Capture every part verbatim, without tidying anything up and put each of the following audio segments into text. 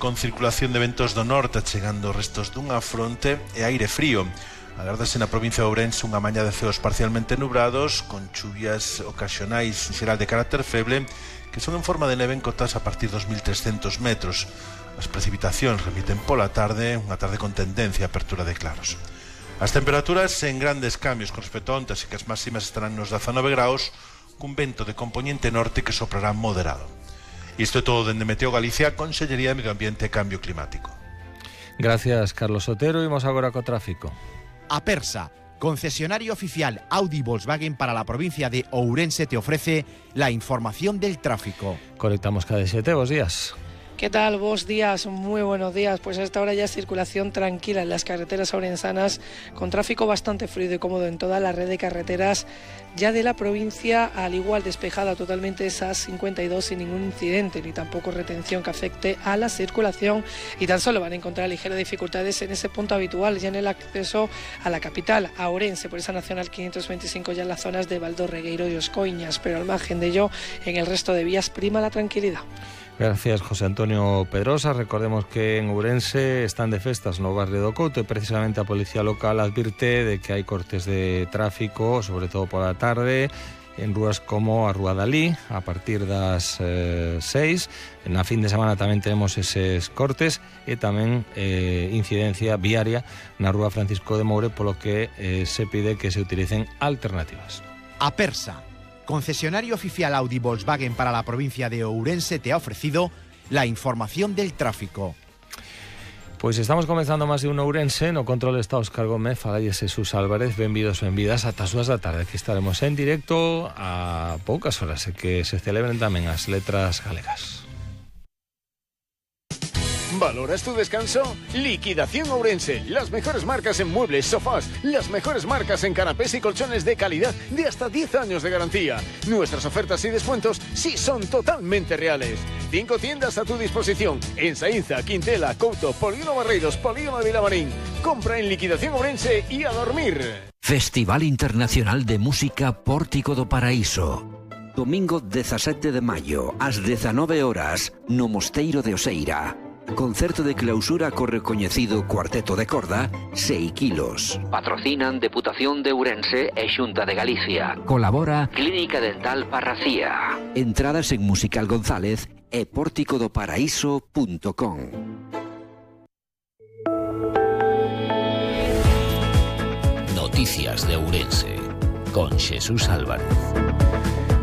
Con circulación de ventos do norte chegando restos dunha fronte e aire frío. Agárdase na provincia de Ourense unha mañá de ceos parcialmente nubrados, con chuvias ocasionais en xeral de carácter feble, que son en forma de neve en cotas a partir dos mil trescentos metros. As precipitacións remiten pola tarde, unha tarde con tendencia a apertura de claros. As temperaturas en grandes cambios con respecto a onte, así que as máximas estarán nos dezanove graus, cun vento de componente norte que soprará moderado. Isto é todo dende Meteo Galicia, Consellería de Medio Ambiente e Cambio Climático. Gracias, Carlos Otero. Imos agora co tráfico. Apersa, concesionario oficial Audi Volkswagen para la provincia de Ourense, te ofrece la información del tráfico. Conectamos cada siete, buenos días. ¿Qué tal? Buenos días, muy buenos días. Pues a esta hora ya es circulación tranquila en las carreteras ourensanas, con tráfico bastante fluido y cómodo en toda la red de carreteras ya de la provincia, al igual despejada totalmente esa cincuenta y dos sin ningún incidente ni tampoco retención que afecte a la circulación, y tan solo van a encontrar ligeras dificultades en ese punto habitual ya en el acceso a la capital, a Ourense, por esa Nacional quinientos veinticinco ya en las zonas de Valdo, Regueiro y Oscoiñas, pero al margen de ello en el resto de vías prima la tranquilidad. Gracias, José Antonio Pedrosa. Recordemos que en Ourense están de festas no barrio do Couto e precisamente a Policía Local advirte de que hai cortes de tráfico, sobre todo por a tarde, en rúas como a Rúa Dalí, a partir das eh, seis. Na fin de semana tamén tenemos eses cortes e tamén eh, incidencia viaria na Rúa Francisco de Moure, polo que eh, se pide que se utilicen alternativas. Apersa, concesionario oficial Audi Volkswagen para la provincia de Ourense, te ha ofrecido la información del tráfico. Pois estamos comenzando máis de un Ourense. No control está Óscar Gómez, falalle Jesús Álvarez. Benvidos, benvidas ata as dúas da tarde, que estaremos en directo a poucas horas e que se celebren tamén as letras galegas. ¿Valoras tu descanso? Liquidación Ourense. Las mejores marcas en muebles, sofás. Las mejores marcas en canapés y colchones de calidad de hasta diez años de garantía. Nuestras ofertas y descuentos sí son totalmente reales. Cinco tiendas a tu disposición. En Saínza, Quintela, Couto, Polígono Barreiros, Polígono de Vilamarín. Compra en Liquidación Ourense y a dormir. Festival Internacional de Música Pórtico do Paraíso. Domingo dezasete de maio, ás dezanove horas, no Mosteiro de Oseira. Concerto de clausura co recoñecido Cuarteto de Corda, seis kilos. Patrocinan Deputación de Ourense e Xunta de Galicia. Colabora Clínica Dental Parracía. Entradas en Musical González e pórtico do paraíso punto com. Noticias de Ourense con Jesús Álvarez.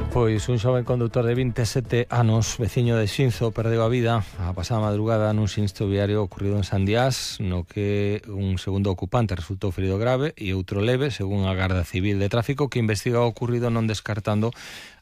Pois un xoven conductor de vinte e sete anos, veciño de Xinzo, perdeu a vida a pasada madrugada nun sinistro viario ocurrido en Sandiás, no que un segundo ocupante resultou ferido grave e outro leve, según a Garda Civil de Tráfico, que investiga o ocurrido, non descartando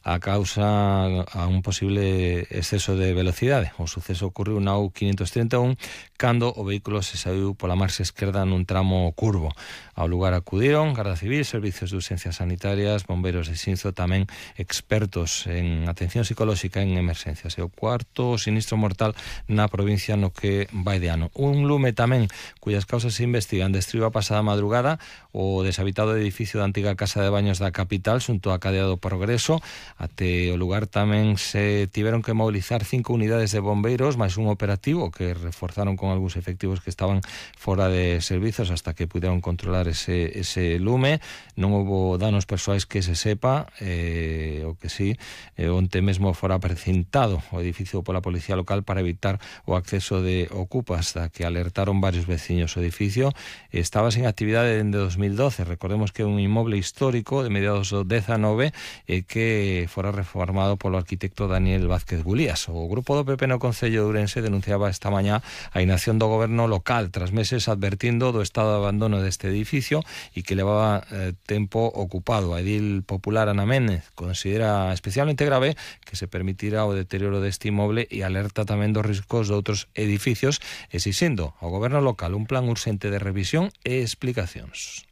a causa a un posible exceso de velocidade. O suceso ocurriu na U quinientos treinta e un cando o vehículo se saiu pola marxa esquerda nun tramo curvo. Ao lugar acudiron Garda Civil, servicios de urxencias sanitarias, bombeiros de Xinzo, tamén expertos en atención psicolóxica en emerxencias. E o cuarto sinistro mortal na provincia no que vai de ano. Un lume tamén cuyas causas se investigan destruiu a pasada madrugada o deshabitado edificio da antiga casa de baños da capital xunto á cadea do Progreso. Até o lugar tamén se tiveron que mobilizar cinco unidades de bombeiros máis un operativo que reforzaron con algúns efectivos que estaban fora de servizos hasta que puderon controlar ese, ese lume. Non houbo danos persoais que se sepa, eh, o que sí, eh, onte mesmo fora precintado o edificio pola Policía Local para evitar o acceso de ocupas, da que alertaron varios veciños. O edificio estaba sin actividade dende dos mil doce. Recordemos que é un inmoble histórico de mediados do dezanove e eh, que fora reformado polo arquitecto Daniel Vázquez Gulías. O grupo do P P no Concello de Ourense denunciaba esta mañá a inacción do goberno local tras meses advertindo do estado de abandono deste edificio e que levaba eh, tempo ocupado. A edil popular Ana Méndez considera especialmente grave que se permitira o deterioro deste inmoble e alerta tamén dos riscos de outros edificios, exixindo ao goberno local un plan urxente de revisión e explicacións.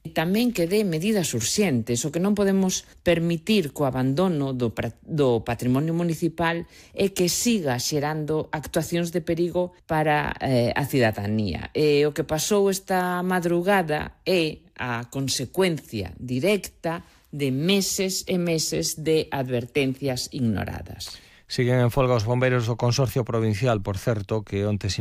Tamén que dé medidas urxentes. O que non podemos permitir co abandono do, do patrimonio municipal é que siga xerando actuacións de perigo para eh, a cidadanía. E o que pasou esta madrugada é a consecuencia directa de meses e meses de advertencias ignoradas. Siguen en folga os bombeiros do Consorcio Provincial, por certo, que onte